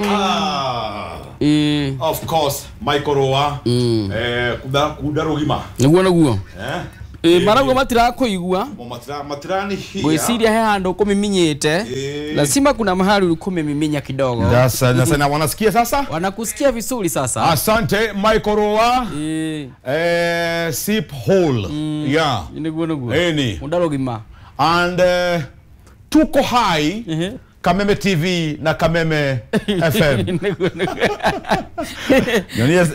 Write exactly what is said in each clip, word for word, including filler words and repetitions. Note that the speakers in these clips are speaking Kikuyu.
Ah. Eh. Of course, Michael Roa. Mm. Eh, kuda kuda rugima. Niguo niguo. Eh? Eh, marauga matirakuigua. Matira matirani hia. Gwiciria he handu kumiminyite. Eh. Lazima kuna mahali ulikumiminya kidogo. Sasa sasa na wanasikia sasa? Wanakusikia vizuri sasa. Asante Michael Roa. Eh. Eh, sip hole. Mm. Yeah. Niguo niguo. Eni. Kunda rugima. And uh, tuko hai. Uh -huh. Kameme T V na Kameme F M.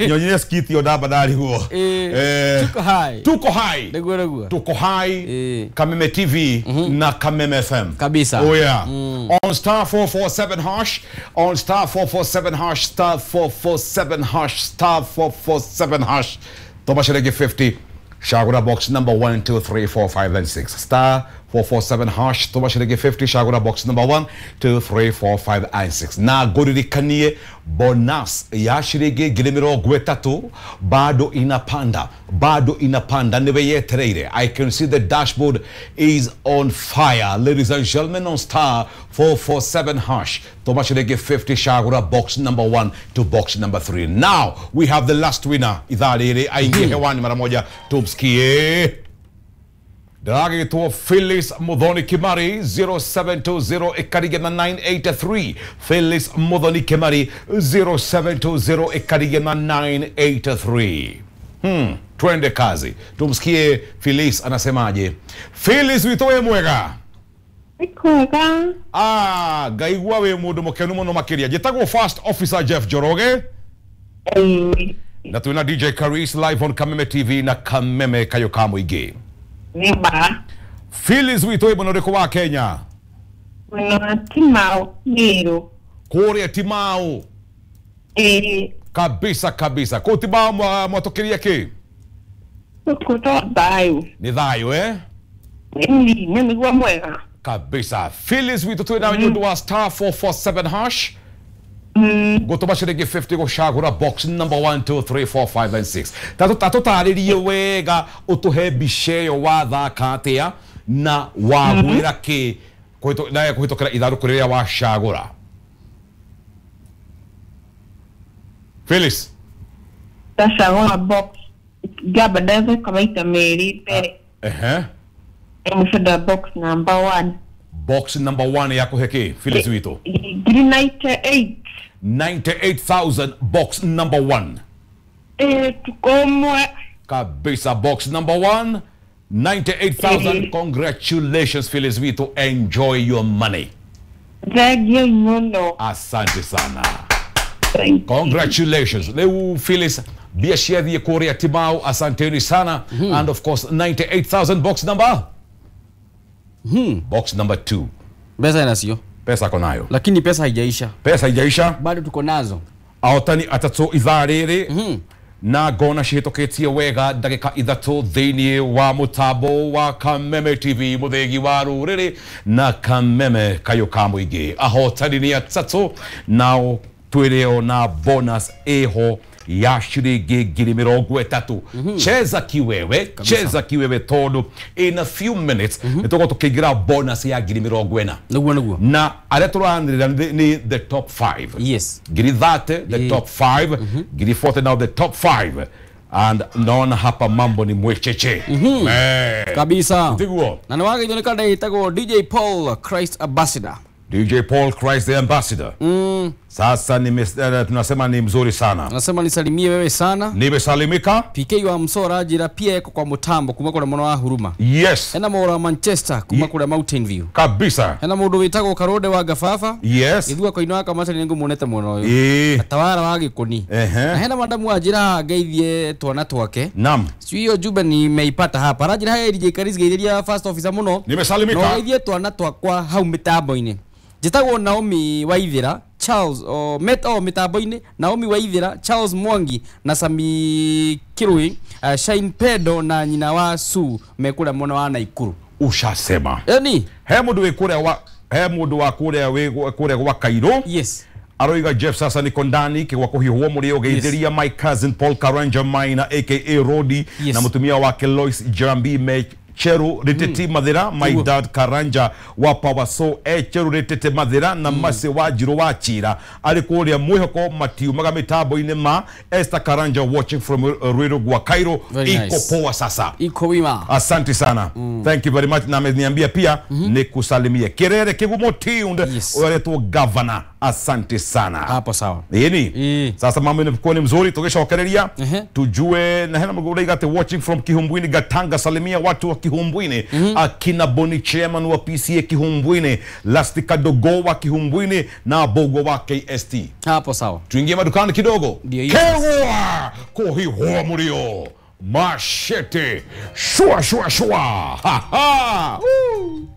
Nyonyes skiti odaba dali huo. Eh, tuko hai. Tuko hai. Niguo niguo. Tuko hai. Eh. Kameme T V mm -hmm. na Kameme F M. Kabisa. Oh yeah. Mm. On star four four seven hash, on star four four seven hash, star four four seven hash, star four four seven hash. Thomas Rege fifty. Shagura box number one, two, three, four, five, and six. Star four four seven hash, Thomas Rege fifty, Shagura box number one, two, three, four, five, and six. Na goririkanie bonus ya shirege girimiro gwetatu bado inapanda, bado inapanda niwe yetereire. I can see the dashboard is on fire. Ladies and gentlemen, on star four four seven hash, Thomas Rege fifty, Shagura box number one to box number three. Now we have the last winner. Idhaa aingie hewani mara moja tumsikie. Ndagĩtwo Phyllis Muthoni Kimari zero seven two zero ĩkarigana nine eight three. Phyllis Muthoni Kimari zero seven two zero ĩkarigana nine eight three. Hmm, twende kazi. Tumsikie Phyllis anasemaje. Phyllis witũ wĩ mwega? Kwega. Ah, ngaigua wĩ mũndũ mũkenu mũno makĩria. Njĩtagwo First Officer Jeff Njoroge. Ĩĩ. Na twĩna D J Karis live on Kameme T V na Kameme Kayo ka Mũingĩ. Nĩma. Phyllis witũ wĩ mwena ũrĩkũ wa Kenya? Mwena wa Timau, Meru. Kũrĩa Timau. Ĩĩ. Kabisa kabisa. Kũu Timau mwatũkĩria kĩ? Gũkũ to thayũ. Nĩ thayũ eh? Ĩĩ, nĩ nĩguo mwega. Kabisa. Phyllis witũ twĩ nawe nĩ ũndũ wa star four four seven hash. Mm. Gũtũma ciringi fifty gũcagũra box number one, two, three, four, five, and six. Tatũtarĩrie wega ũtũhe mbica ĩyo wathaka atĩa na wagwĩra kĩ na kũhĩtũkĩra ithandũkũ rĩrĩa wacagũra. Phyllis. Ndacagũra box ngamba ndathaka maita merĩ mbere. Ehe. Mũcada box number one. Box number one yakũhe kĩ Phyllis witũ? Ngiri ninety-eight. ninety-eight thousand box number one. Eh, tukomwe. Kabisa box number one, ninety-eight thousand. Eh. Congratulations Phyllis Vito, enjoy your money. Thank you muno. Asante sana. Thank you. Congratulations. Leo Phyllis biashara ya Korea Timau, asanteni sana. Mm -hmm. And of course ninety-eight thousand box number. Hmm. Box number two. Pesa inasio. Pesa konayo. Lakini pesa haijaisha. Pesa haijaisha. Bado tuko nazo. Ahotani atatu ithaa rĩrĩ. Mm -hmm. Na ngona cihĩtũkĩtie wega ndagĩka ithatũ thĩinĩ wa mũtambo wa Kameme T V mũthĩgi wa rũrĩrĩ na Kameme Kayũ ka Mũingĩ. Ahotani nĩ atatũ nao twĩrĩo na bonus ĩho ya ciringi ngiri mĩrongo ĩtatũ. Cheza kiwewe, cheza kiwewe tondũ in a few minutes nĩ tũgũkorwo tũkĩingĩra bonus ya ngiri mĩrongo ĩna. Nĩguo nĩguo. Na arĩa tũranĩrĩra nĩ the top five. Yes. Ngiri thirty the top five, ngiri forty now the top five. And naona hapa mambo ni mwecheche. Mm-hmm. Eh. Kabisa. Ndiguo. Na nĩwagĩithio nĩ kanda ĩtagwo D J Paul Christ Ambassador. D J Paul Christ the Ambassador. Mm. Sasa ni uh, tunasema ni mzuri sana. Nasema nisalimie wewe sana. Nimesalimika. P K wa Msora jira pia eko kwa mutambo kuma kura mwana wa huruma. Yes. Ena mora wa Manchester kuma kura Mountain View. Kabisa. Ena mundu witagwo Karode wa Gafafa. Yes. Ithua koino aka macani ningu monete muno uyu. Eh. Atawara wa Gikoni. Ehe. Na hena madamu wa jira ngeithie twana twake. Naam. Sio hiyo jumbe nimeipata hapa. Rajira hai D J Karis geithiria first officer muno. Nimesalimika. No geithie twana twakwa hau mitambo-ini. Njĩtagwo Naomi Waithira Charles o met o mitambo-inĩ Naomi Waithira Charles Mwangi na Sami Kirui uh, Shine Pedo na nyina wa Su mekura mwena wa Naikuru. Ushasema. Yani he mundu wi kuria wa he mundu wa kuria wi kuria gwa Kairo. Yes. Aroiga Jeff sasa niko ndani kigwa kuhihuo muri ugeithiria my cousin Paul Karanja Maina aka Rodi Yes. na mutumia wake Lois Jambi me Cheru Rititi Mathira my dad Karanja wa Power so e Cheru Rititi Mathira na Mase wa Njiro wa Chira ari kuria mwihoko matiumaga mitambo-inĩ ma Esther Karanja watching from Ruiru gwa Cairo. Very iko nice. Poa sasa. Iko wima. Asante sana. Thank you very much. Na ameniambia pia nikusalimie Kirere Kigumo tuned. Yes. Uretwo governor, asante sana. Hapo sawa. Ĩni. Ĩ. Sasa mambo inakuwa ni mzuri tugishokereria. Ehe. Tujue na hena mguraiga watching from Kihumbwini Gatanga, salimia watu wa Kihumbwini, akina Boni chairman wa P C A Kihumbwini, Lastika Dogo wa Kihumbwini na Bogo wa K S T. Hapo sawa. Tuingie madukani kidogo. Ndio hiyo. Kewa kuhihua murio mashete shua shua shua. Ha, ha. Woo.